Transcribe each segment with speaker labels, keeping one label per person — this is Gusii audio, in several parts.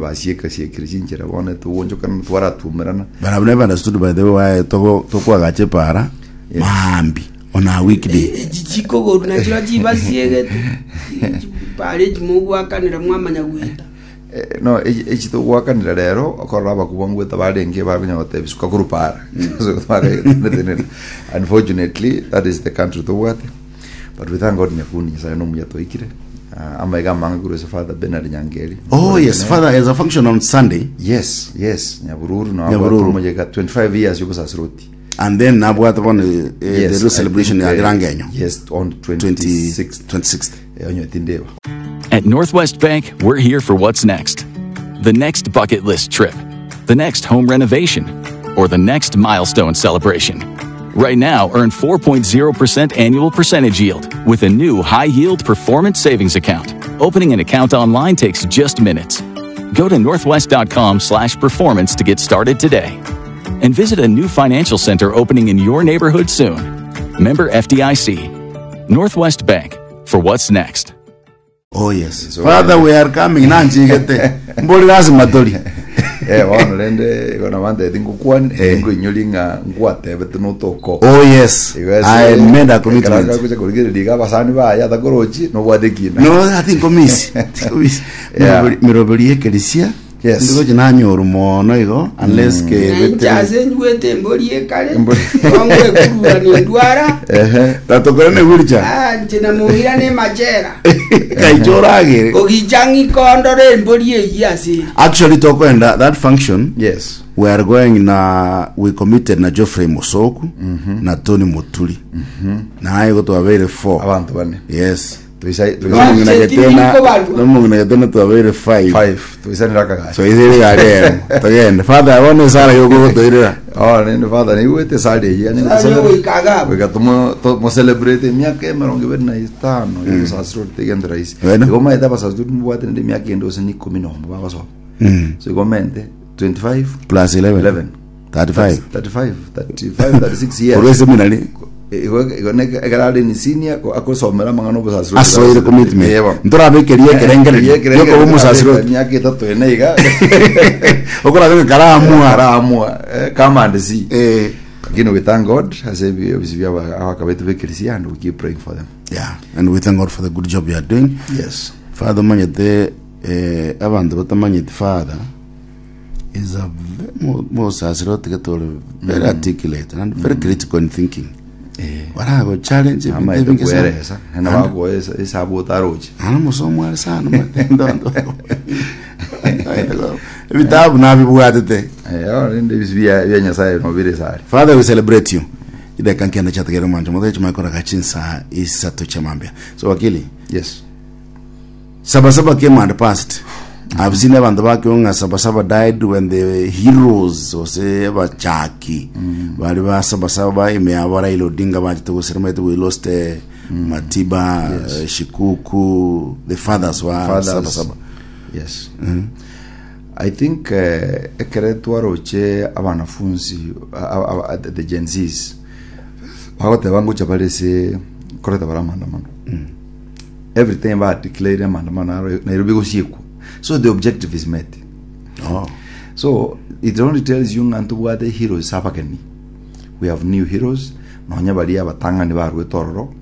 Speaker 1: Basieka-siekire chinchera bono togwonchokana twaratumerana.
Speaker 2: But I've never understood by the way why togo tokwagacha epara maambi on a weekday.
Speaker 3: Echi chikogoru nachio chibasiegete pare echi mogwakanera mwamanya goeta.
Speaker 1: Eh, no echi echi togwakanera rero okorora abakubwa ngweta barenge bakonya gotebia suka korwa para So, twakaetenenera. unfortunately that is the country tobwate but we thank god nyakundi nyasaye nomuya twaikire Ah, amaiga amange korwa ase father Bernard Nyangeri
Speaker 2: Oh yes, father has a function on Sunday
Speaker 1: yes yes nyabururu no
Speaker 2: Nyabururu.
Speaker 1: omojeka 25 years yobosasiroti
Speaker 2: and then nabwate bono eh, the
Speaker 1: yes
Speaker 2: real
Speaker 1: I
Speaker 2: celebration
Speaker 1: think,
Speaker 2: ya
Speaker 1: eh,
Speaker 2: Girangenyo
Speaker 1: yes on 26th
Speaker 2: 26th.
Speaker 1: Eh, onye tindeba
Speaker 4: At Northwest Bank, we're here for what's next the next bucket list trip, the next home renovation, or the next milestone celebration. Right now, earn 4.0% annual percentage yield with a new high yield performance savings account. Opening an account online takes just minutes. Go to northwest.com slash performance to get started today. And visit a new financial center opening in your neighborhood soon. Member FDIC. Northwest Bank for what's next.
Speaker 2: Oh yes. Father we are coming nanchigete. Mbori lazima tori.
Speaker 1: Eh, bono rende igo nabanteti ngokwani ngoinyori ng'a ngwatebete notoko
Speaker 2: Oh yes. I made a commitment.
Speaker 1: gocha korigereria iga abasani baye atakorochi nobwate ekina
Speaker 2: No, I think komisi. Komisi.
Speaker 1: Yeah.
Speaker 2: Miroberi yekerisia.
Speaker 1: Yes.
Speaker 2: Ndigochi nanyoru mono igo unless ke
Speaker 3: Na inche ase njwete embori ekare kongwekurura nindwara
Speaker 1: Ehe.
Speaker 2: Tatokore ne wheelchair.
Speaker 3: Ah, inche namoira ne machera
Speaker 2: Kaicho oragere.
Speaker 3: kogicha ng'ikondore embori eyio ase ere
Speaker 2: Actually tokwenda that function
Speaker 1: Yes.
Speaker 2: we are going na we committed na Geoffrey Musoku na Tony Muturi. Na igo twabeire 4.
Speaker 1: Abanto bane.
Speaker 2: Yes.
Speaker 1: Toisa toisa
Speaker 2: Nomong'ina
Speaker 3: Wancheti
Speaker 2: Getena
Speaker 3: nikobarwa.
Speaker 2: nomong'ina Getena twabeire 5.
Speaker 1: 5 toisanera akagacha.
Speaker 2: So ithire gari ero. Togende. Father bono esara yogotoirera.
Speaker 1: Oh, nende father nigwete sari eyio yani
Speaker 3: Sari ogoika iga abwo.
Speaker 1: goika tomo to celebrate emiaka emerongo ebere na etano yobosasirori tegende rahisi.
Speaker 2: Wena.
Speaker 1: Igo maete abasasirori mbwate nende emiaka ende gose na ikomi nomo bagosoma. So igo mente 25
Speaker 2: Plus 11.
Speaker 1: 11
Speaker 2: 35.
Speaker 1: 35 35 36 years.
Speaker 2: Korwa seminary
Speaker 1: Igo igo ne ekero are ni senior ko- akosomera amang'ana obosasirori.
Speaker 2: asoire commitment.
Speaker 1: Eh, bono.
Speaker 2: Ntorabekeria ekerengererio yokoba omosasiroti.
Speaker 1: Emiaka etato ene iga.
Speaker 2: Okorabe karamua.
Speaker 1: Karamua. Eh, come and see.
Speaker 2: Eh.
Speaker 1: Lakini we thank God ase ebi- ebisi bia aba- abakabetu b'ekerisia and we keep praying for them.
Speaker 2: Yeah, and we thank God for the good job you are doing.
Speaker 1: Yes.
Speaker 2: Father omanyete eh, abanto batamanyeti father is a ve- mo- mosasiroti getore very articulate and very critical in thinking. Barago challenge ebinto
Speaker 1: Amaete
Speaker 2: ebinge sana.
Speaker 1: kweresa. Na bagoesa esabu otaroche.
Speaker 2: Ana musomo are sana ndondo. Ebitabu nabibwatete.
Speaker 1: Eh, oh, rende ebisi bia bia Nyasaye no bire sare.
Speaker 2: Father we celebrate you. Ideka nkenda chategere mwancho mothe chimakora gachinsa isato chamambia. So wakili
Speaker 1: Yes.
Speaker 2: Sabasaba came and passed. I've seen abanto bakio ng'a Sabasaba died when the heroes ose abachaki bari ba Sabasaba ime yabo Raila Odinga bachete gosira maete we lost eh, Matiba eh, Shikuku the fathers wa
Speaker 1: Fathers.
Speaker 2: Sabasaba.
Speaker 1: Yes. I think eh, ekere twaroche abanafunzi a- a- a- the Gen Zs bagoteba ngocha bare ase koreta bare amaandamano every time ba declare amaandamano aro Nairobi gosiekwa so the objective is met
Speaker 2: Oh.
Speaker 1: so it only tells you ng'a ntobwate heroes abageni we have new heroes nonya baria abatang'ani barwete ororo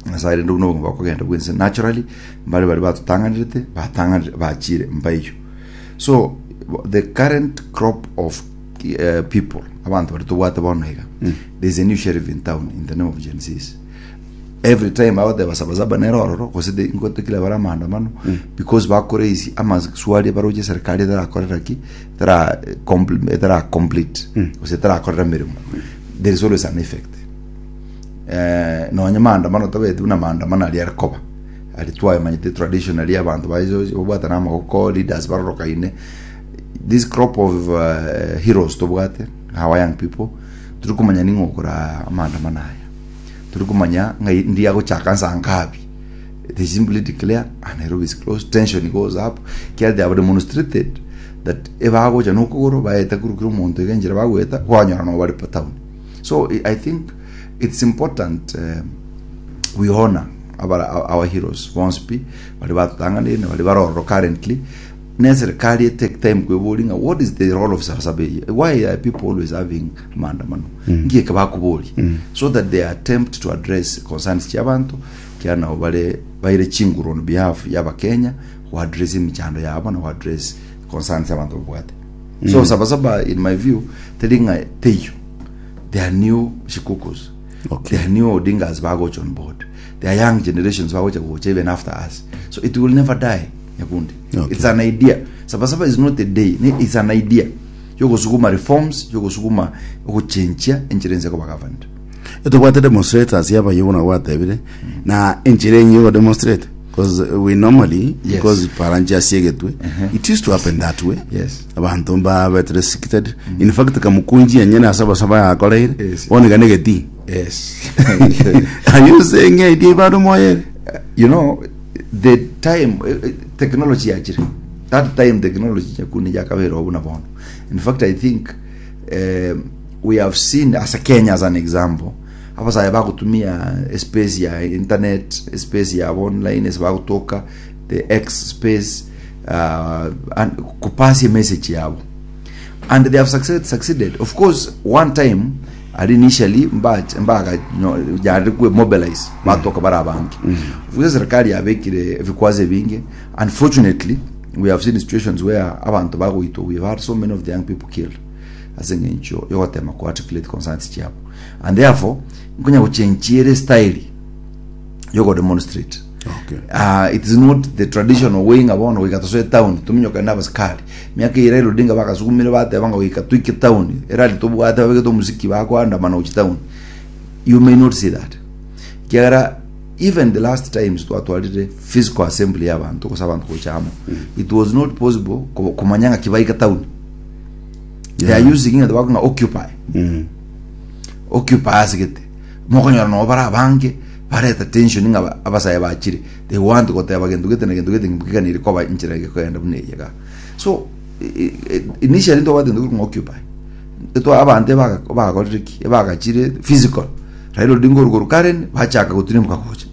Speaker 1: Nyasaye rende buna obogima bokogenda bwense naturally mbare baria batotang'anerete batang'anire bachire mbaiyo so the current crop of eh, people abanto baria tobwate bono iga there is a new sheriff in town in the name of Gen Zs every time bagoteba sabasaba nere ororo gose the- ngotekire bare amaandamano because bakoraise amaswali baroche serikali etarakorera ki etara compl- etara complete gose etarakorera emeremo there is always an effect eh, nonya maandamano tabeti buna maandamano aria are koba aria twayamanyete traditionally abanto baiso babwatana amagoko leaders barorokaine this crop of uh, heroes tobwate our young people turi komanya ning'o okora amaandamano aya turi komanya ng'ai ndi agochaka nsa nkabi they simply declare ah, Nairobi is closed tension goes up kiara they have demonstrated that ebagocha nokogoro baete korukira omonto iga enchera bagoeta kwanyora nabo bare pa town So I think it's important uh, we honor our, our heroes bonsi pi bari batotang'anire na bari barororo currently. Ne serikali e take time kweboria ng'a what is the role of Sabasaba eye? Why are people always having maandamano? Nki eke bakoboria? So that they attempt to address concerns chia abanto kiagera nabo bare baire chinguru on behalf ya abakenya go address emichando yabo na go address concerns abanto babwate. So Sabasaba in my view teri ng'a teiyo. There are new Shikukus.
Speaker 2: Okay.
Speaker 1: There are new Odingas bagocha on board. There are young generations bagocha gocha even after us. So it will never die. Nyakundi.
Speaker 2: Okay.
Speaker 1: It's an idea. Sabasaba is not a day. Ni- It's an idea. Yogosukuma reforms, yogosukuma ogochenchia enchera ense koba governed.
Speaker 2: Etobwate demonstrators yabaye buna gwatebire na enchera enye yogo demonstrate because we normally
Speaker 1: Yes.
Speaker 2: because paranchi asiegetwe it used to happen that way
Speaker 1: Yes.
Speaker 2: abanto mbabete restricted in fact kamukunji enyene ase abasaba yakoreire
Speaker 1: Yes.
Speaker 2: bono iga negeti
Speaker 1: Yes.
Speaker 2: are you saying idea bado moyere
Speaker 1: you know the time eh, eh, technology yachire that time technology nyakundi yakabera obu na bono in fact i think um, we have seen as a kenya as an example abasaye bagotumia space ya internet space ya online ase bagotoka the x space uh, and kupasia message yabo and they have succeeded, succeeded. Of course one time ari initially mbaga yari kwe mobilize batoka bari abange of course serikali yabekire ebikwazo ebinge unfortunately we have seen situations where abantu bagoitwa we have had so many of the young people killed ase eng'encho yogotema ku articulate concerns chiabo and therefore nkonya gochenchiere style yogo demonstrate
Speaker 2: Okay.
Speaker 1: uh, it is not the traditional way ng'a bono goika tosoe town tominyoke na abasikari miaka eye Raila Odinga bagasukumire bateba ng'a goika toike town erali tobwate babegete omosiki bakoandamana gochia town you may not see that ekiagera even the last times twatwarire physical assembly ya abanto gose abanto gocha amo it was not possible ko- komanya ng'aki baika town they are using ng'a bakong'a occupy occupy ase gete Mokonyora nabo bare abange bareta tension ng'a ba- abasae bachire they want goteba gento gete na gento gete ngeganire koba enchera gekogenda buna eye iga. So i- i- initially ntobwate gento korwa ng'a occupy etwa abanto ebaga bagakorire ki ebagachire physical Raila Odinga orwa korwa Karen bachaka gotirimboka gocha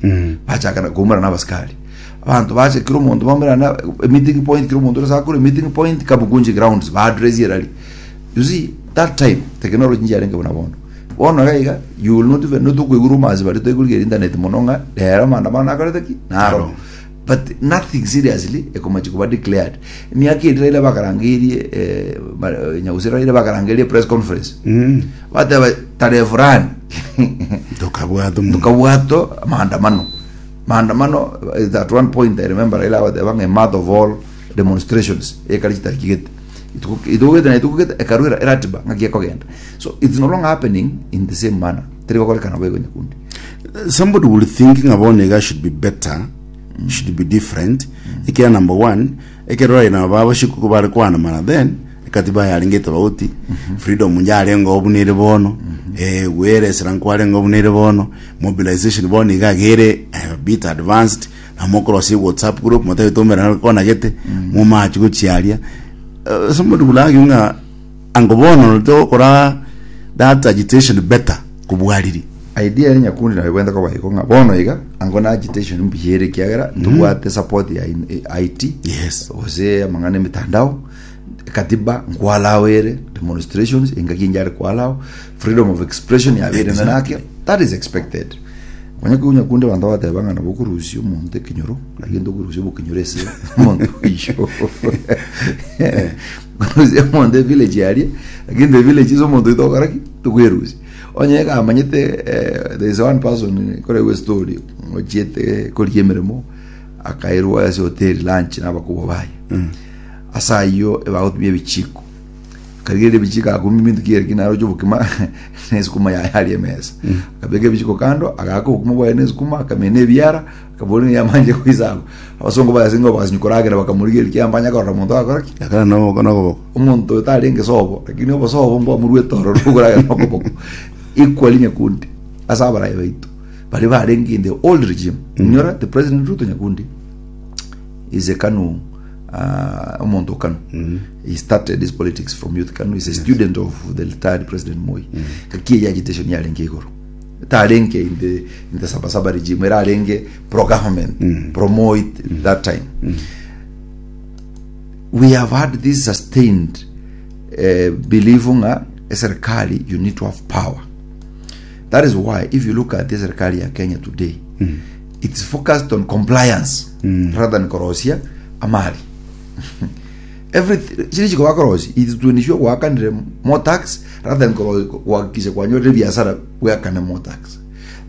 Speaker 1: bachaka na koumerana na abasikari abanto bacha kera omonto baumerana na meeting point kera omonto ore ase akore meeting point Kamukunji grounds ba address erari you see that time technology nchiarenge buna bono. Bono iga iga, you will not even notokoigwa rumors baria toigorigereria internet mono ng'a rero maandamano nakorete ki? Naro. But nothing seriously ekomachi koba declared. Emiaka eria Raila bakarangeirie eh, ma- eh, Nyagusira Raila bakarangeirie press conference. Bateba tarehe fulani
Speaker 2: Tokabwata omonto.
Speaker 1: tukabwato maandamano. Maandamano eh, at one point I remember Raila agateba ng'a a mother of all demonstrations ekari chitariki gete. Ituko ituko gete na ituko gete ekarwera eratiba ng'aki ekogenda. So it's no longer happening in the same manner. Teri gokorekana boigo nyakundi.
Speaker 2: Somebody will think ng'a bono iga should be better, should be different. Ekiagera number one, ekero Raila na baba shikuku bare koandamana then, ekatiba yarenge etobauti, freedom yarenge oo buna ere bono, eh, gweeresera nkwarenge oo buna ere bono, mobilization bono iga iga ere a bit advanced, na mokorosia whatsapp group motabe tomerana konagete, momache gochia aria. Eh, somebody will argue ng'a Ango bono togokora that agitation better kobua riria.
Speaker 1: Idea ere nyakundi nabo ebwenerete koba igo ng'a bono iga ango na agitation mbuya ere ekiagera ntobwate support ya in- eh, IT
Speaker 2: Yes.
Speaker 1: gose amang'ana emitandao katiba nkwalao ere demonstrations engaki enye are kwalao freedom of expression yabeire
Speaker 2: Exactly.
Speaker 1: nake that is expected onye konya nyakundi abanto bagateba ng'a nabo okorusia omonto ekenyoro lakini tokorusia obokenyoro ase omonto oyio Korusia omonto evillage aria lakini the village ase omonto oyio togokora ki tokwerusia onye ekamanyete eh, there is one person koregwa estory ochiete korigia emeremo akairwa ase hoteli lunch na abakubwa baye ase ayio ebagotumia ebichiko akarigereria ebichiko akumia ebinto ki ere naroche obokima na esukuma yaye aria emesa akabeka ebichiko kando agaka obokima bwaye na esukuma akamena ebiara Akabori nigo amanche goisaba. Abasongo baye ase bagasinywa koragera bakamorigereria kiambanya mbanya korora monto agakora ki?
Speaker 2: Akara noboko nokoboko.
Speaker 1: Omonto oyo tarenge sobo, lakini obosobo mbwamorwete ororo okoragera nokoboko. Equally nyakundi ase abarai baito baria barenge in the old regime. Inyora the President Ruto nyakundi is a Kanu uh, omonto o Kanu. He started his politics from youth Kanu. He's a student of the retired President Moi. Gaki eye agitation yarenge igoro. Tarenge in the in the sabasaba regime erarenge pro government mm. pro Moi mm. that time mm. We have had this sustained eh, belief ng'a eserikali you need to have power. That is why if you look at the serikali ya Kenya today, it's focused on compliance rather than korosia amali. Every chiri chiko bakorosia it's to ensure gwakanire more tax rather than kuhakikisha kwanyorire biasara bwakane more tax.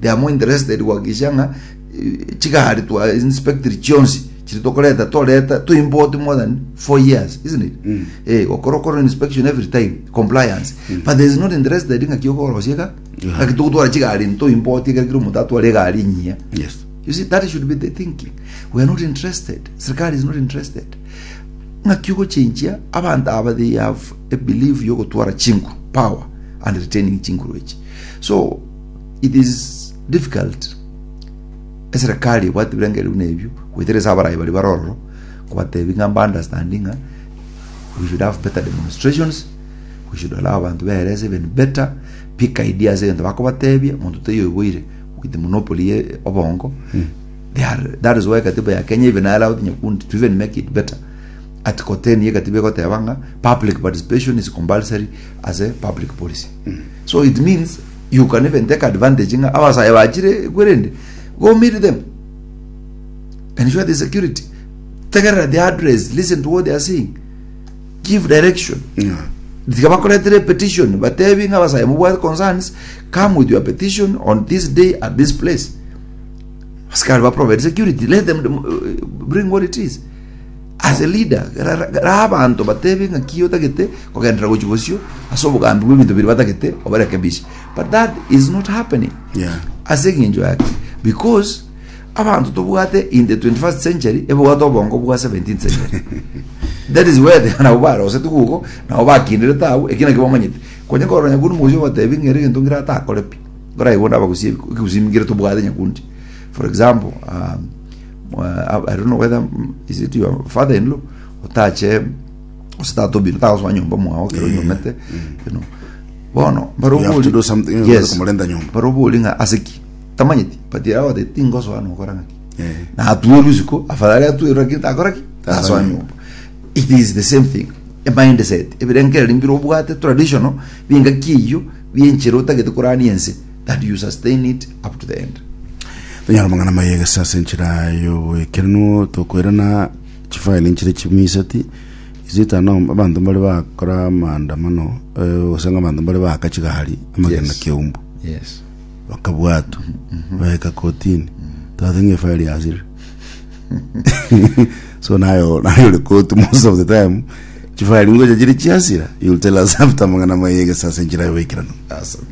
Speaker 1: They are more interested kuhakikisha ng'a eh, chigari twa inspected chionsi chiri tokoreta toreta to import more than 4 years isn't it mm. eh okoro inspection every time compliance mm. but there is not interested ng'a kiokorosia ka yeah. ng'a togotwara chigari nto import ekero kero omonto atware egari enyia
Speaker 2: Yes.
Speaker 1: You see, that should be the thinking. We are not interested. Serikali is not interested. Ng'aki ogochenchia abanto aba they have a belief yogotwara chinguru power and retaining chinguru echi. So it is difficult eserikali ebwate ebirengererio buna ebio goetera ase abarai baria bare ororo kobatebi ng'a mba understanding ng'a we should have better demonstrations we should allow abanto beerese even better pick ideas egento bakobatebia monto taiyo oiboire with the monopoly ye obongo they are that is why katiba ya Kenya even allowed Nyakundi to even make it better article 10 ye katiba egoteba ng'a public participation is compulsory as a public policy so it means you can even take advantage ng'a abasae bachire kwerende go meet them ensure the security tegerera the address listen to what they are saying give direction
Speaker 2: Yeah.
Speaker 1: tiga bakoretere petition batebi ng'a abasae mobwate concerns come with your petition on this day at this place asikari ba provide security let them bring what it is as a leader ra abanto batebi ng'a ki otagete kogenderera gochi bosio ase obogambi bwa ebinto biria batagete obarekebishe but that is not happening
Speaker 2: Yeah.
Speaker 1: ase eng'encho yake because abanto tobwate in the 21st century ebwate obongo bwa 17th century that is where they nabo barosete guko nabo bakinderete abwo eki nakio bamanyete konya korora nyakundi mogochia obatebi ng'a ere egento nkere atakore pi nkoraigwe onde abagusie ekegusii nkere tobwate nyakundi for example um, I don't know whether is it your father in law otache gose tata obino tagosoa nyomba mwao ekero onyomete you know bono
Speaker 2: You have to do something, you
Speaker 1: yes
Speaker 2: komorenta nyomba.
Speaker 1: barobori ng'a ase ki tamanyeti but yagoteba tingosoa nokora ng'aki
Speaker 2: Eh.
Speaker 1: na atwerwe isiko afadhali atwerwe lakini takora ki tasoa nyomba it is the same thing a mindset ebirengereri mbire obwate traditional bingaki eyio bienchera otagete korania ense that you sustain it up to the end
Speaker 2: Tonyara mang'ana maye gese ase enchera y'oboekerenuo tokoirana chifaili nchire chimiseti isitano abanto mbare bakora maandamano eh, gose ng'a abanto mbare baaka chigari amagena
Speaker 1: Yes.
Speaker 2: keumbu
Speaker 1: yes
Speaker 2: bakabwatwa baeka kotini twathe ng'a efaili yasirire so nayo nayo ore koti most of the time chifaili ngocha chire chiasira you'll tell us after mang'ana maye gese ase enchera y'oboekeranu
Speaker 1: asante.